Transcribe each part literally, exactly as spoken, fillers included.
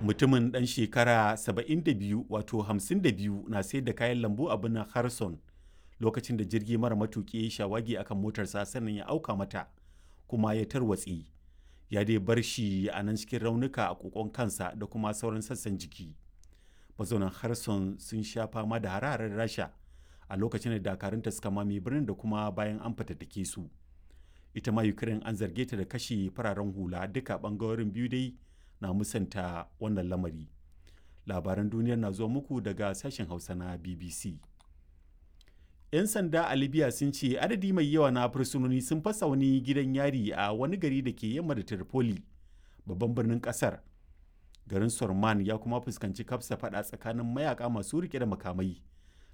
Mutumin ɗan shekara saba'in da biyu, wato hamsin da biyu, na sayar da kayan lambu a birnin Kherson lokacin da jirgi mara matuki ya yi shawagi akan motarsa, sannan ya auka mata kuma ya tarwatse. Ya dai bar shi a nan cikin raunuka a kokon kansa da kuma sauran sassan jiki. Mazaunan Kherson sun sha fama da hare-haren Rasha a lokacin da dakarunta suka mame birnin da kuma bayan an fatattake su. Ita ma Ukraine an zarge ta da kashe fararen hula. Duka bangarorin biyu dai na musanta wannan lamari. Labaran duniyar na zuwa muku daga sashen Hausa na B B C. 'Yan sanda a Libya sun ce adadi mai yawa na fursunoni sun fasa wani gidan yari a wani gari da ke yamma da Tripoli, babban birnin kasar. Garin Sorman ya kuma fuskanci kafsa fada tsakanin mayaka masu rike da makamai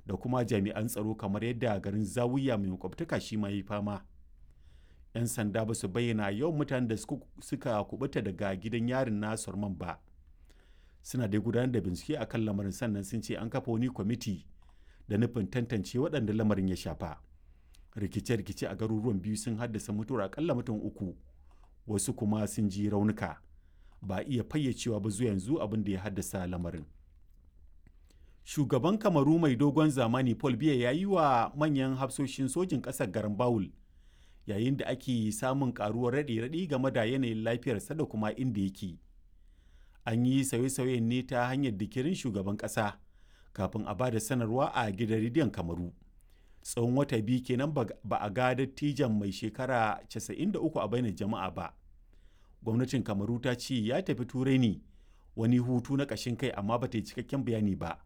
da kuma jami'an tsaro, kamar yadda garin Zawiya mai makwabtaka shi ma yi fama. 'Yan sanda ba su bayyana yawan mutanen da suka kubuta daga gidan yarin na Sorman ba. Suna dai gudanar da bincike akan lamarin, sannan sun ce an kafa wani kwamiti da nufin tantance waɗanda lamarin ya shafa. Rikice-rikice a garuruwan biyu sun haddasa mutuwar akalla mutum uku, wasu kuma sun ji raunuka. Ba a iya fayyacewa ba zuwa yanzu abin da ya haddasa lamarin. Shugaban Kamaru mai dogon zamani Paul Biya ya yi wa manyan hafsoshin sojin ƙasar garan bawul, yayin da ake samun karuwar raɗe-raɗi game da yanayin lafiyarsa da kuma inda yake. An yi sauye-sauyen ne ta hanyar dikirin shugaban ƙasa kafin a ba da sanarwa a gidan rediyon Kamaru. Tsawon wata biyu kenan ba a ga dattijan mai shekara casa'in da uku a bainar jama'a ba. Gwamnatin Kamaru ta ce ya tafi Turai ne wani hutu na ƙashin kai, amma ba ta yi cikakken bayani ba.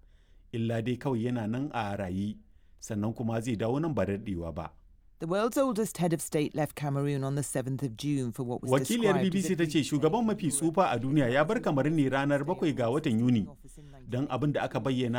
Illa dai kawai yana nan a raye, sannan kuma zai dawo nan ba da daɗewa ba. The world's oldest head of state left Cameroon on the seventh of June for what was Wakiliyar described as B B C a ta ce shugaban mafi tsufa a duniya ya bar Kamaru ne ranar bakwai ga watan Yuni don abin da aka bayyana